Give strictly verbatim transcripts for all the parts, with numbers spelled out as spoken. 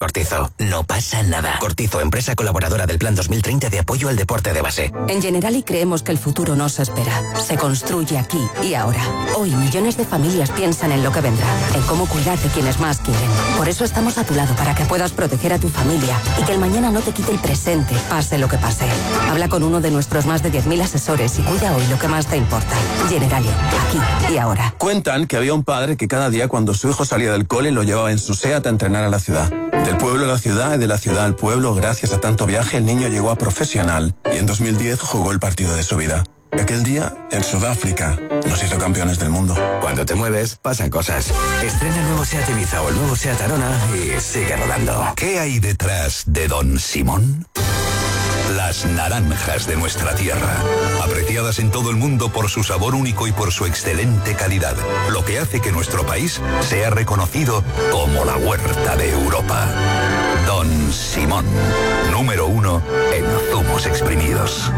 Cortizo, no pasa nada. Cortizo, empresa colaboradora del Plan dos mil treinta de apoyo al deporte de base. En Generali creemos que el futuro no se espera. Se construye aquí y ahora. Hoy millones de familias piensan en lo que vendrá, en cómo cuidar de quienes más quieren. Por eso estamos a tu lado para que puedas proteger a tu familia y que el mañana no te quite el presente, pase lo que pase. Habla con uno de nuestros más de diez mil asesores y cuida hoy lo que más te importa. Generali, aquí y ahora. Cuentan que había un padre que cada día cuando su hijo salía del cole lo llevaba en su SEAT a entrenar a la ciudad. Del pueblo a la ciudad y de la ciudad al pueblo, gracias a tanto viaje, el niño llegó a profesional y en dos mil diez jugó el partido de su vida. Y aquel día, en Sudáfrica, nos hizo campeones del mundo. Cuando te mueves, pasan cosas. Estrena el nuevo SEAT Ibiza o el nuevo SEAT Arona y sigue rodando. ¿Qué hay detrás de Don Simón? Las naranjas de nuestra tierra, apreciadas en todo el mundo por su sabor único y por su excelente calidad, lo que hace que nuestro país sea reconocido como la huerta de Europa. Don Simón, número uno en zumos exprimidos.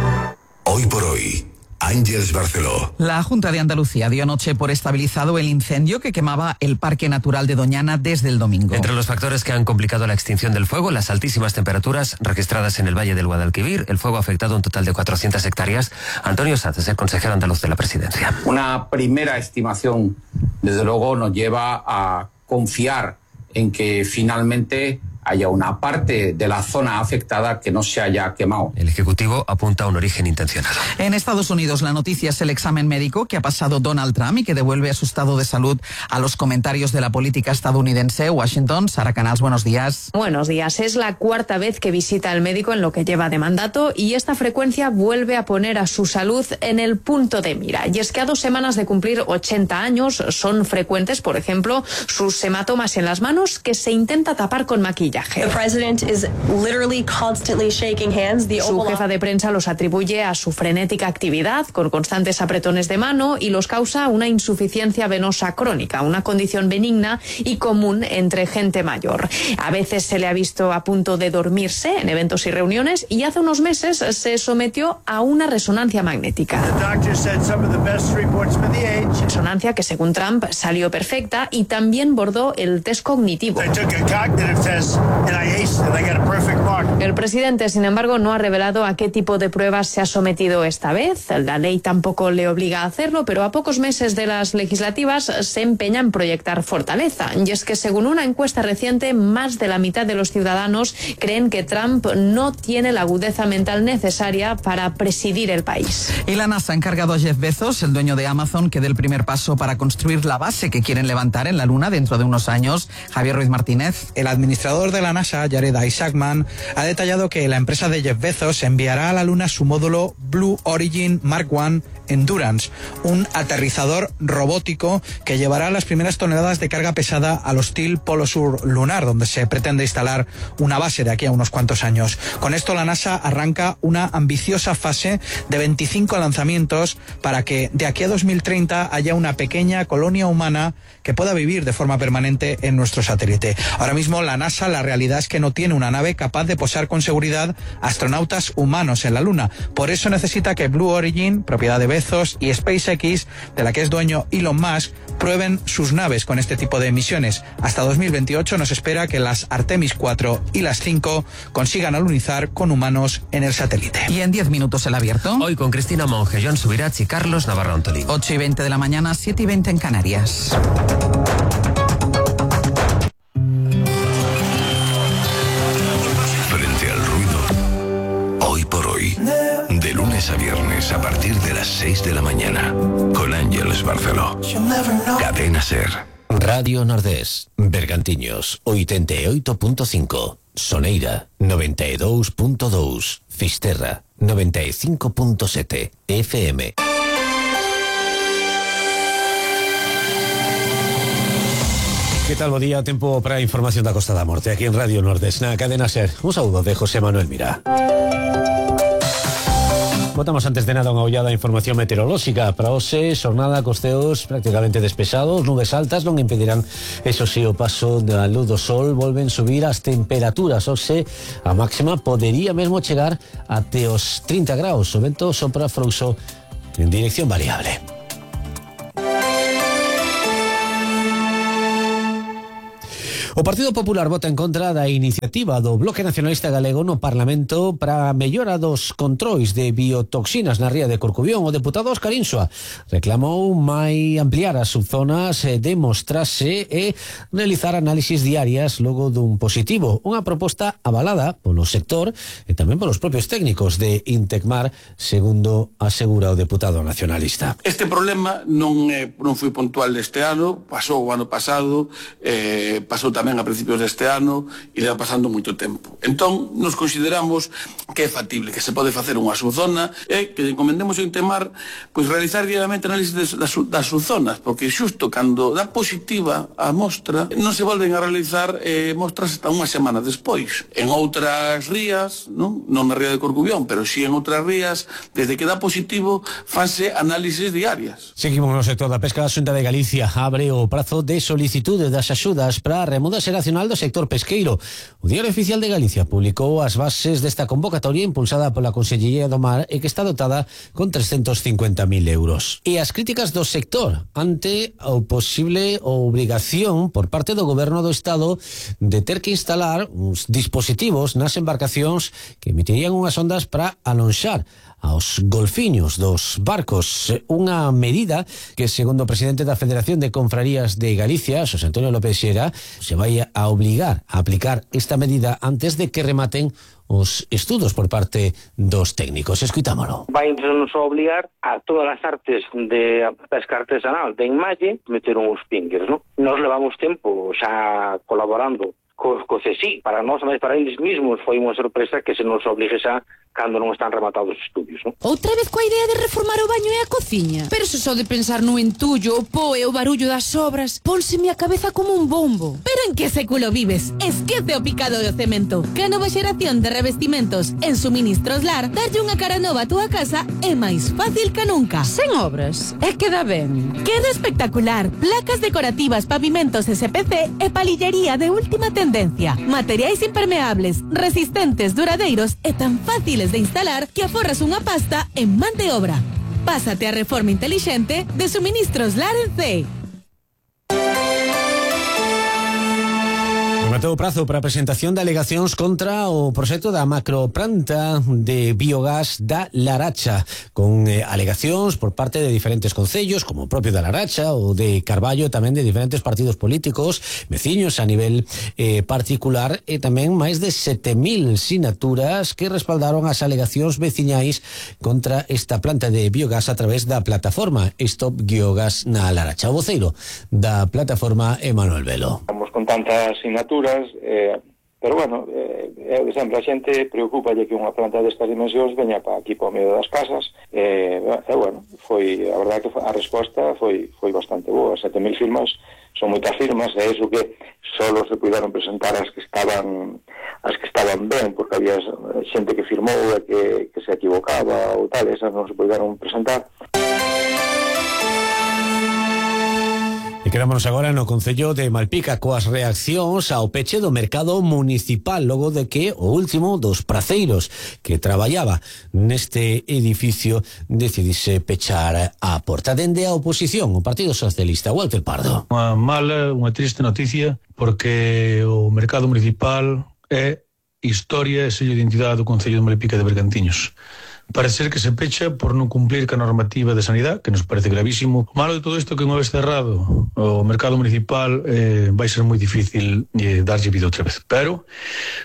Hoy por hoy, Ángeles Barceló. La Junta de Andalucía dio anoche por estabilizado el incendio que quemaba el Parque Natural de Doñana desde el domingo. Entre los factores que han complicado la extinción del fuego, las altísimas temperaturas registradas en el Valle del Guadalquivir, el fuego ha afectado un total de cuatrocientas hectáreas. Antonio Sanz es el consejero andaluz de la Presidencia. Una primera estimación, desde luego, nos lleva a confiar en que finalmente haya una parte de la zona afectada que no se haya quemado. El Ejecutivo apunta a un origen intencionado. En Estados Unidos la noticia es el examen médico que ha pasado Donald Trump y que devuelve a su estado de salud a los comentarios de la política estadounidense. Washington, Sara Canals, buenos días. Buenos días. Es la cuarta vez que visita al médico en lo que lleva de mandato y esta frecuencia vuelve a poner a su salud en el punto de mira. Y es que a dos semanas de cumplir ochenta años son frecuentes, por ejemplo, sus hematomas en las manos que se intenta tapar con maquillaje. The president is literally constantly shaking hands. The su jefa de prensa los atribuye a su frenética actividad con constantes apretones de mano y los causa una insuficiencia venosa crónica, una condición benigna y común entre gente mayor. A veces se le ha visto a punto de dormirse en eventos y reuniones y hace unos meses se sometió a una resonancia magnética. Resonancia que según Trump salió perfecta y también bordó el test cognitivo. El presidente, sin embargo, no ha revelado a qué tipo de pruebas se ha sometido esta vez. La ley tampoco le obliga a hacerlo, pero a pocos meses de las legislativas se empeña en proyectar fortaleza. Y es que, según una encuesta reciente, más de la mitad de los ciudadanos creen que Trump no tiene la agudeza mental necesaria para presidir el país. Y la NASA ha encargado a Jeff Bezos, el dueño de Amazon, que dé el primer paso para construir la base que quieren levantar en la Luna dentro de unos años. Javier Ruiz Martínez. El administrador de la NASA, Jared Isaacman, ha detallado que la empresa de Jeff Bezos enviará a la Luna su módulo Blue Origin Mark uno Endurance, un aterrizador robótico que llevará las primeras toneladas de carga pesada al hostil Polo Sur lunar, donde se pretende instalar una base de aquí a unos cuantos años. Con esto la NASA arranca una ambiciosa fase de veinticinco lanzamientos para que de aquí a dos mil treinta haya una pequeña colonia humana que pueda vivir de forma permanente en nuestro satélite. Ahora mismo la NASA, la realidad es que no tiene una nave capaz de posar con seguridad astronautas humanos en la Luna. Por eso necesita que Blue Origin, propiedad de Bezos, y SpaceX, de la que es dueño Elon Musk, prueben sus naves con este tipo de misiones. Hasta dos mil veintiocho nos espera que las Artemis cuatro y las cinco consigan alunizar con humanos en el satélite. Y en diez minutos el abierto. Hoy con Cristina Monge, Joan Subirats y Carlos Navarro Antolín. ocho y veinte de la mañana, siete y veinte en Canarias. Frente al ruido, hoy por hoy, de lunes a viernes a partir de las seis de la mañana, con Ángeles Barceló. Cadena Ser. Radio Nordés, Bergantiños, oitenta e oito punto cinco, Soneira, noventa e dous punto dous, Fisterra, noventa e cinco punto sete, F M. Que tal, bo día? Tempo para a información da Costa da Morte aquí en Radio Nordés, na Cadena Ser. Un saúdo de José Manuel Mira. Botamos antes de nada unha ollada a información meteorolóxica. Para hoxe, xornada cos ceos prácticamente despesados, nubes altas non impedirán, eso sí, o paso da luz do sol. Volven subir as temperaturas. Hoxe, a máxima podería mesmo chegar até os trinta graus. O vento sopra frouxo en dirección variable. O Partido Popular vota en contra da iniciativa do Bloque Nacionalista Galego no Parlamento para a mellora dos controis de biotoxinas na ría de Corcubión. O deputado Óscar Insua reclamou mai ampliar as subzonas, demostrarse e realizar análisis diarias logo dun positivo. Unha proposta avalada polo sector e tamén polos propios técnicos de Intecmar, segundo asegura o deputado nacionalista. Este problema non, eh, non foi puntual deste ano, pasou o ano pasado, eh, pasou tamén a principios deste ano e leva pasando moito tempo. Entón, nos consideramos que é factible, que se pode facer unha subzona e que encomendemos a Intecmar pois, realizar diariamente análisis das, das subzonas, porque xusto cando dá positiva a mostra non se volven a realizar eh, mostras hasta unha semana despois. En outras rías, non, non na ría de Corcubión, pero si en outras rías, desde que dá positivo, fanse análisis diarias. Seguimos no sector da pesca. A Xunta de Galicia abre o prazo de solicitude das axudas para a remuda xeracional do sector pesqueiro. O Diario Oficial de Galicia publicou as bases desta convocatoria impulsada pola Consellería do Mar e que está dotada con trescentos cincuenta mil euros. E as críticas do sector ante o posible obrigación por parte do Goberno do Estado de ter que instalar uns dispositivos nas embarcacións que emitirían unhas ondas para alonxar aos golfiños dos barcos, unha medida que, segundo o presidente da Federación de Confrarías de Galicia, Xosé Antonio López Xera, se vai a obligar a aplicar esta medida antes de que rematen os estudos por parte dos técnicos. Escuitámolo. Vai nos obligar a todas as artes de pesca artesanal de enmalle meter uns pinkers, non? Nos levamos tempo xa colaborando co, co C S I. Para nós, mas para eles mesmos, foi unha sorpresa que se nos obligue xa cando non están rematados os estudios, non? Outra vez coa idea de reformar o baño e a cociña. Pero se só de pensar no entullo, o po e o barullo das obras, pónseme a cabeza como un bombo. Pero en que século vives? Esquece o picado do cemento. Que a nova xeración de revestimentos en Suministros Lar, darlle unha cara nova a túa casa é máis fácil que nunca. Sen obras, é que dá ben. Queda espectacular. Placas decorativas, pavimentos S P C e palillería de última tendencia. Materiais impermeables, resistentes, duradeiros e tan fáciles de instalar que aforras unha pasta en man de obra. Pásate a reforma intelixente de Suministros Lar en C. Rematou o prazo para a presentación de alegacións contra o proxecto da macroplanta de biogás da Laracha, con eh, alegacións por parte de diferentes concellos, como o propio da Laracha ou de Carballo, tamén de diferentes partidos políticos, veciños a nivel eh, particular, e tamén máis de sete mil sinaturas que respaldaron as alegacións veciñais contra esta planta de biogás a través da plataforma Stop Biogás na Laracha. O voceiro da plataforma é Manuel Velo. Vamos con tantas sinaturas, eh, pero bueno, eh, é de sempre a xente preocupalle que unha planta destas dimensións veña para aquí para o medio das casas, e eh, eh, bueno, foi, a verdade que a resposta foi foi bastante boa. Sete mil firmas son moitas firmas, e iso que solo se puderon presentar as que estaban as que estaban ben, porque había xente que firmou e que, que se equivocaba ou tal, esas non se puderon presentar. E quedámonos agora no Concello de Malpica coas reaccións ao peche do mercado municipal logo de que o último dos praceiros que traballaba neste edificio decidise pechar a porta. Dende a oposición, o Partido Socialista, Walter Pardo. Unha mala, unha triste noticia, porque o mercado municipal é historia e sello de identidade do Concello de Malpica de Bergantiños. Parece ser que se pecha por non cumplir ca normativa de sanidade, que nos parece gravísimo. O malo de todo isto é que unha vez cerrado o mercado municipal eh, vai ser moi difícil eh, darlle vida outra vez. Pero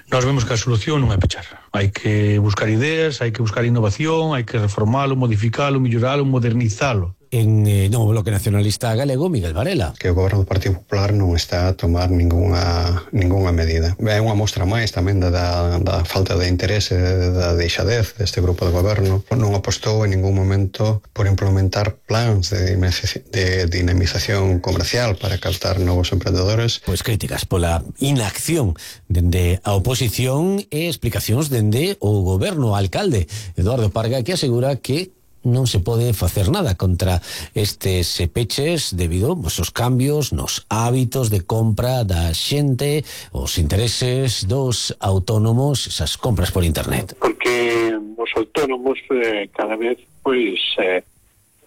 nós vemos que a solución non é pechar. Hai que buscar ideas, hai que buscar innovación, hai que reformalo, modificalo, melloralo, modernizalo. En eh, no Bloque Nacionalista Galego, Miguel Varela. Que o goberno do Partido Popular non está a tomar ningunha, ningunha medida. É unha mostra máis tamén da, da, da falta de interese, da deixadez deste grupo de goberno. Non apostou en ningún momento por implementar plans de, de dinamización comercial para captar novos emprendedores. Pois críticas pola inacción dende a oposición e explicacións dende o goberno. Alcalde Eduardo Parga, que asegura que non se pode facer nada contra estes peches debido aos cambios nos hábitos de compra da xente, os intereses dos autónomos, esas compras por internet. Porque os autónomos eh, cada vez pois eh,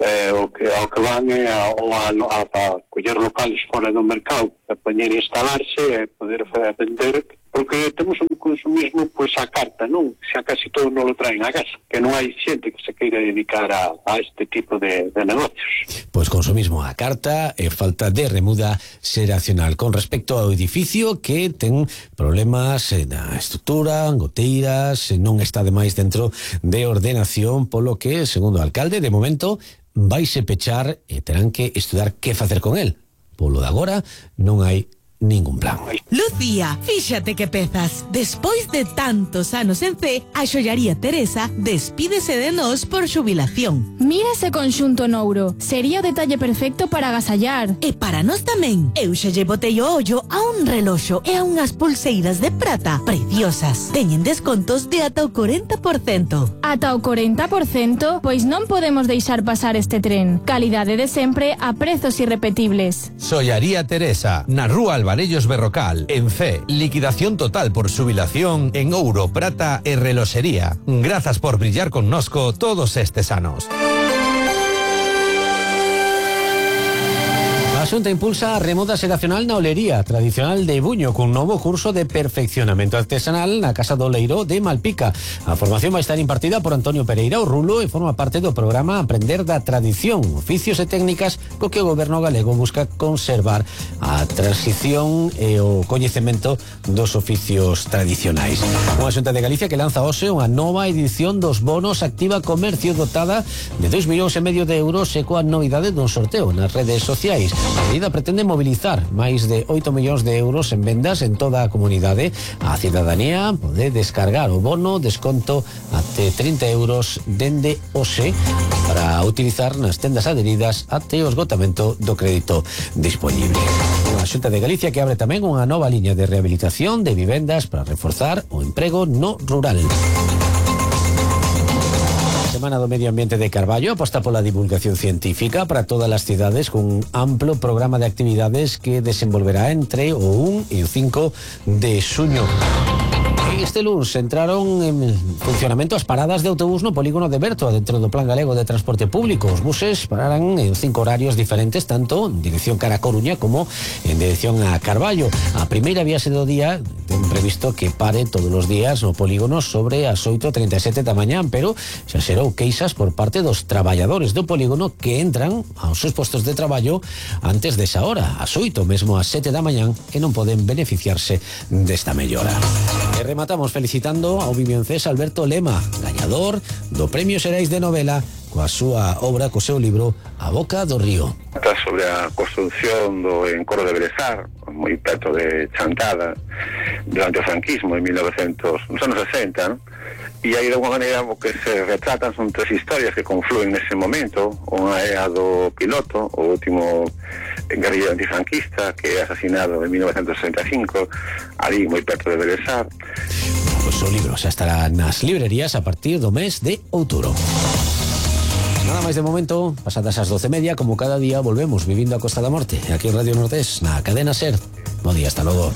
eh, o que ao que van é a, a, a, a coller locales fora do mercado, a poñer e instalarse e poder vender, porque temos un consumismo pois a carta, non? Xa casi todo non lo traen a casa, que non hai xente que se queira dedicar a, a este tipo de, de negocios. Pois consumismo a carta e falta de remuda xeracional. Con respecto ao edificio que ten problemas na estrutura, goteiras, non está demais dentro de ordenación, polo que, segundo o alcalde, de momento vaise pechar e terán que estudar que facer con el. Polo de agora non hai ningún plan. Lucía, fíxate que pezas. Despois de tantos anos en C, a xollaría Teresa despídese de nós por xubilación. Mira ese conxunto nouro. Sería o detalle perfecto para agasallar. E para nós tamén. Eu xa lle botei o ollo a un reloxo e a unhas pulseiras de prata preciosas. Teñen descontos de ata o corenta por cento. Ata o corenta por cento? Pois non podemos deixar pasar este tren. Calidade de sempre a prezos irrepetibles. Xollaría Teresa, na Rúa Alvarellos Berrocal, en C. Liquidación total por xubilación en ouro, prata e reloxería. Grazas por brillar connosco todos estes anos. A Xunta impulsa a remuda xeracional na olería tradicional de Buño cun novo curso de perfeccionamento artesanal na Casa do Leiro de Malpica. A formación vai estar impartida por Antonio Pereira o Rulo e forma parte do programa Aprender da Tradición, oficios e técnicas co que o goberno galego busca conservar a transición e o coñecemento dos oficios tradicionais. Unha Xunta de Galicia que lanza hoxe unha nova edición dos bonos Activa Comercio dotada de dois millóns e medio de euros e coa novidade dun sorteo nas redes sociais. A medida pretende mobilizar máis de oito millóns de euros en vendas en toda a comunidade. A cidadanía pode descargar o bono, desconto até trinta euros dende hoxe para utilizar nas tendas adheridas até o esgotamento do crédito disponible. Unha Xunta de Galicia que abre tamén unha nova liña de rehabilitación de vivendas para reforzar o emprego no rural. Semana do Medio Ambiente de Carballo aposta pola divulgación científica para todas as cidades cun amplo programa de actividades que desenvolverá entre o un e o cinco de xuño. Este luns entraron en funcionamento as paradas de autobús no polígono de Berto dentro do Plan Galego de Transporte Público. Os buses pararán en cinco horarios diferentes, tanto en dirección cara a Coruña como en dirección a Carballo. A primeira viaxe do día ten previsto que pare todos os días no polígono sobre as oito e trinta e sete da mañán, pero xa xerou queixas por parte dos traballadores do polígono que entran aos seus postos de traballo antes desa hora, ás oito, mesmo ás sete da mañán, e non poden beneficiarse desta mellora. E rematamos felicitando ao viviencés Alberto Lema, gañador do Premio Xerais de Novela coa súa obra, co seu libro A Boca do Río. Sobre a construcción do encoro de Belezar, moi perto de Chantada, durante o franquismo en mil novecientos, nos anos sesenta, ¿no? E aí de alguma maneira o que se retratan son tres historias que confluen nese momento. Unha é a do piloto, o último guerrillero antifranquista que é asesinado en mil novecientos sesenta e cinco, ali moi perto de Belezar. Pois o libro xa estará nas librerías a partir do mes de outubro. Nada máis de momento, pasadas as doce e media, como cada día, volvemos vivindo a Costa da Morte, aquí en Radio Nordés, na cadena SER. Bo día, hasta logo.